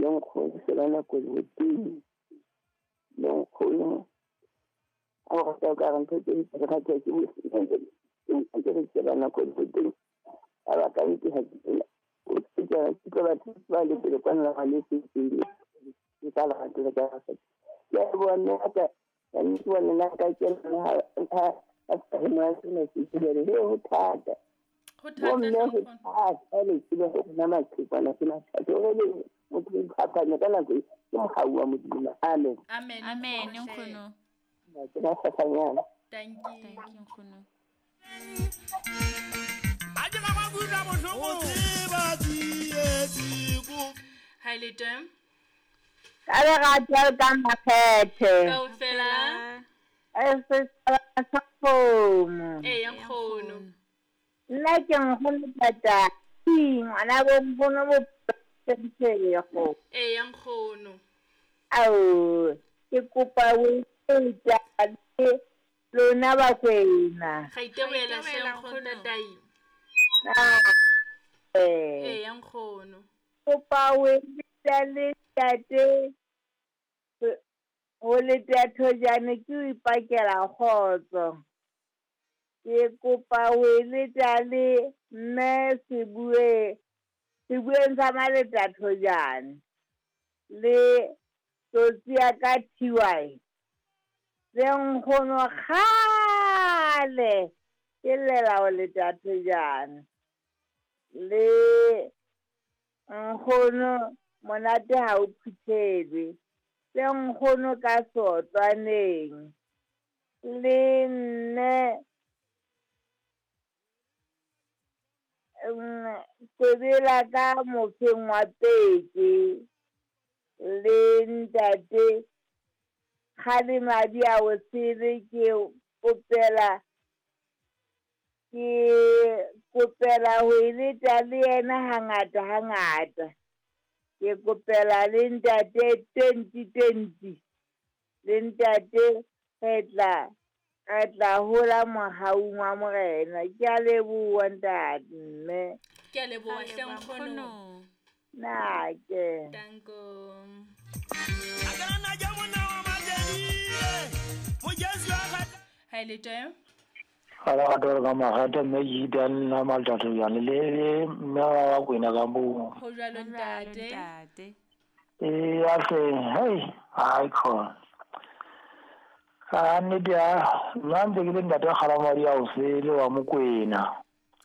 Le nkgono Selwana Koloboteng. Le nkgono a o rata o ka re ntho tse di rata ke ke re Selwana Koloboteng. A ba ka ntse ha ke o tsela ke tlo batho ba le pele kwana la le se se ke ka la ke ka sa. Ke a bona ka ka ntse bona nna ka ke ha ha ha mo se se se le ho thata. Ho thata Bomme hle ho nkgono. thata le tsebe ho nna maqhekwana ke mathata. Hore le motho o iphapanya ka nako e, ke mohau wa Modimo. Amen. Amen. Amen nkgono hle. nkgono. Ke ba fafanyana. Thank you. Thank you nkgono. Hi le teng. Ka lerato le ka makgethe. Kaofela. E setjhaba sa kgomo. Eya nkgono. Nna ke nkgono Tatai, ngwana bo nkgono bo Sentshego. Eya nkgono. Ao, ke kopa o etsa le lona Bakwena. Ga iteboela hle Ga iteboela, nkgono nkgono. Tatai. Eh, Eya nkgono. kopa o etsa le ntate ho leta thojane ke o ipakela kgotso. Ke kopa ho eletsa le mme Sebue, Sebueng sa Maleta Thojane le tsotsi ya ka TY. Le nkgono kgale ke llela ho leta Thojane. Le nkgono monate ha o phuthelwe. Le nkgono ka sotlwaneng. Le nne Kobela ka mofeng wa peke le ntate Kgalemadi a o sele ke kopela ho eleta le yena hangata hangata. Ke kopela le ntate 2020 le ntate re tla hola mohaung wa Morena. Ke a leboha ntate mme. Ke a leboha Ga hle leboha, nkgono. nkgono. Na ke. Danko. Hi le teng. Ga lerato le ka makgethe mme ke ita nna Maltatso jane le le mme wa Bakwena ka moo. Ho jwalo Ho jwalo, ntate. ntate. Ee, a hle, hei, hai khona. Ka nnete ya, nna ntse ke le ntate Kgalamadi a o sele wa Mokwena.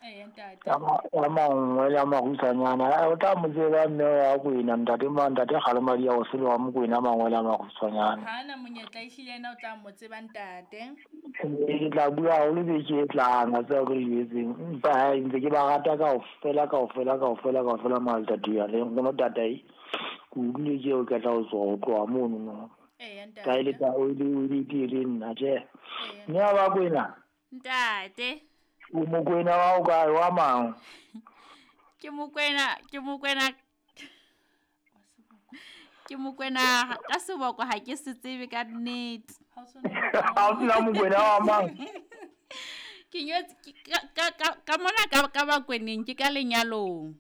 Eya ntate. Ya mangwe le a mahutshwanyana. O tla mo tseba mme wa Kwena, ntate ma ntate Kgalamadi a o sele wa Mokwena mangwe le a mahutshwanyana. Ha na monyetla ehlile yena o tla mo tseba ntate. Ke tla bua haholo beke e tlang, a tseba ke le jwetseng. Empa hai, ntse ke ba rata kaofela, kaofela, kaofela, kaofela Maltatso ya le nkgono Tatai. Ke utlwile ke eo ke tla ho tswa ho tloha mono no. Eya ntate. Ka e le ta o le o le le nna tjhe. Eya. Mme wa Bakwena. Ntate. O Mokwena wa o kae wa mang? Ke Mokwena, ke Mokwena. Ke Mokwena ka seboko ha ke se tsebe ka nnete. Ha o sona. Ha o tseba Mokwena wa mang? Ke nyetse ka mona ka Bakweneng ke ka lenyalong.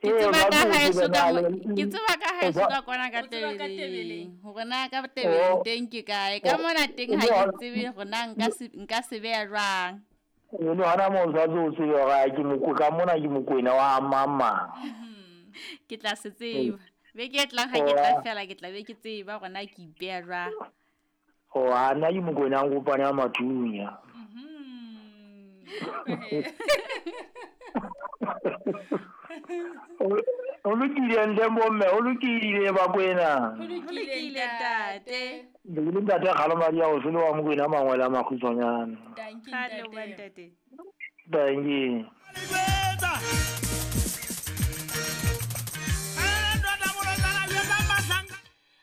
Ke Ee, tseba ba ka tlo haeso tseba ka na mo- le- ke tseba ka haeso ka kwana ka O tseba ka Tebeleng. Tebeleng. Hore na ka Tebeleng Oh. teng ke kae. Ka Oh. mona teng ha Le ke hona- tsebe hore na nka se beha jwang. Le hona moo o tshwanetse o tsebe hore ke ka mona ke Mokwena wa mang mang. Ke tla se tseba. Beke e tlang ha ke tla fela ke tla be ke tseba hore na ke ipeha jwang. Oh, ha nna ke Mokwena a Nkopane a Mathunya. O lokile ntle bomme, o lokile Bakwena. Ho Ho lokile lokile, ntate. Le ntate Kgalamadi a o sele wa Mokwena mangwe le a makgutshwanyane. Thank you Ga leboha, ntate. ntate. Thank you.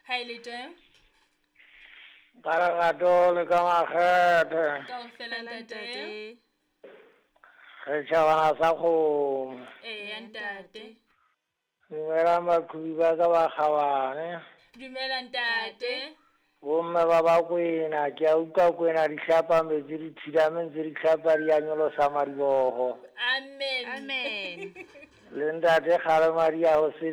Hi le teng. Ka lerato le ka makgethe. Kaofela ntate. Setjhabana sa kgomo. Eya ntate. Dumelang baqhobi ba ka ba kgabane. Dumela ntate. Bomme ba Bakwena, ke a utlwa Kwena di hlapa metsi di thilame ntse di hlapa di a nyolosa madiboho. Amen. Amen. Le ntate Kgalemadi a ho sele